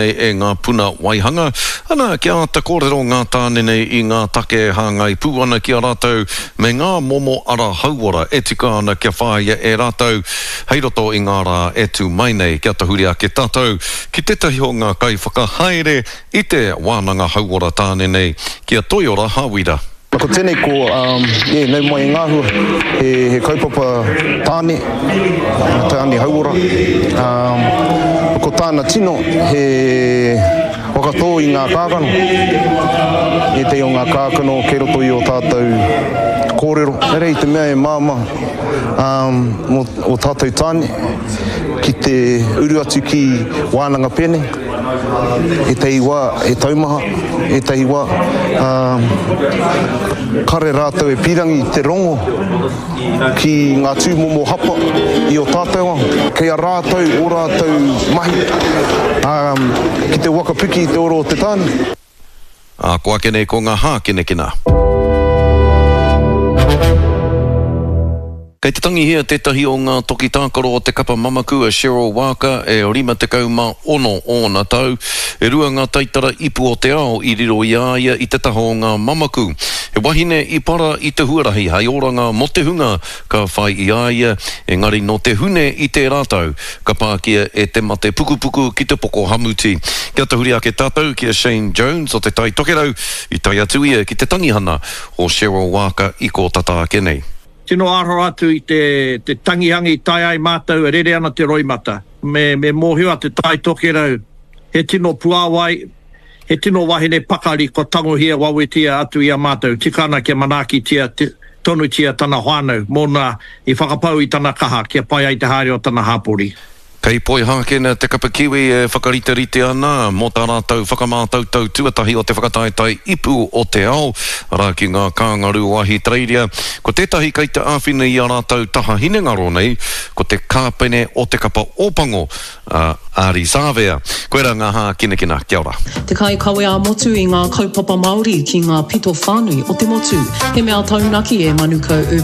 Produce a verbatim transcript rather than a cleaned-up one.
E ngā puna waihanga, ana kia āta kōrero ngā tāne nei i ngā take e hāngai pū ana ki a rātou me ngā momo ara hauora e tika ana kia whāia e rātou hei roto i ngā rā e tū mai nei. Kia tahuri ake tātou ki tētahi o ngā kaiwhakahaere i te wānanga hauora tāne nei, ki a Toiora Hawira. Ko tēnei ko, um, yeah, nau mai e ngā hua, he, he kaupapa tāne, tāne hauora. Um, ko tāna tino, he whakatō i ngā kākano, ētahi o ngā kākano kei roto i ō tātou kōrero. Ehara i te mea e māmā um, mō ō tātou tāne ki te uru atu ki wānanga pēnei. Ētahi wā he taumaha, ētahi wā kare rātou e pīrangi te rongo ki ngā tūmomo hapa i o tātou ao. Kei a rātou ō rātou mahi ki te waka piki i te ora o te tāne. Ā, ko ake nei ko ngā hākinakina. Kei te tangihia tētahi o ngā toki tākaro o te kapa mamaku a Cheryl Waaka e rima tekau mā ono ōna tau. E rua ngā taitara ipu o te ao i riro i a ia i te taha o ngā mamaku. He wahine i para i te huarahi hei oranga mō te hunga ka whai i a ia, engari nō te Hune i tērā tau ka pākia e te mate pukupuku ki te poko hamuti. Kia tahuri ake tātou ki a Shane Jones o Te Tai Tokerau, i tae atu ia ki te tangihana o Cheryl Waaka i kō tata ake nei. Tino aro atu i te te tangihanga i tae ai mātou e rere ana te roimata. Me me mōhio a Te Tai Tokerau he tino puāwai, he tino wahine pakari kua tangohia wawetia atu i a mātou, tika ana kia manaakitia tonutia tana whānau mōna i whakapau i tana kaha kia pai ai te haere o tana hāpori. Kei Poihākena te kapa Kiwi e whakariterite ana mō tā rātou whakamātautau tuatahi o te whakataetae ipu o te ao, arā ki ngā kāngaru o Ahitereiria. Ko tētahi kei te āwhina i a rātou taha hinengaro nei, ko te kāpene o te kapa Ōpango, a Ardie Savea. Koirā ngā hākinakina. Kia ora. Te kaikawe ā-motu i ngā kaupapa Māori ki ngā pito whānui o te motu. He mea taunaki e Manukau Urban.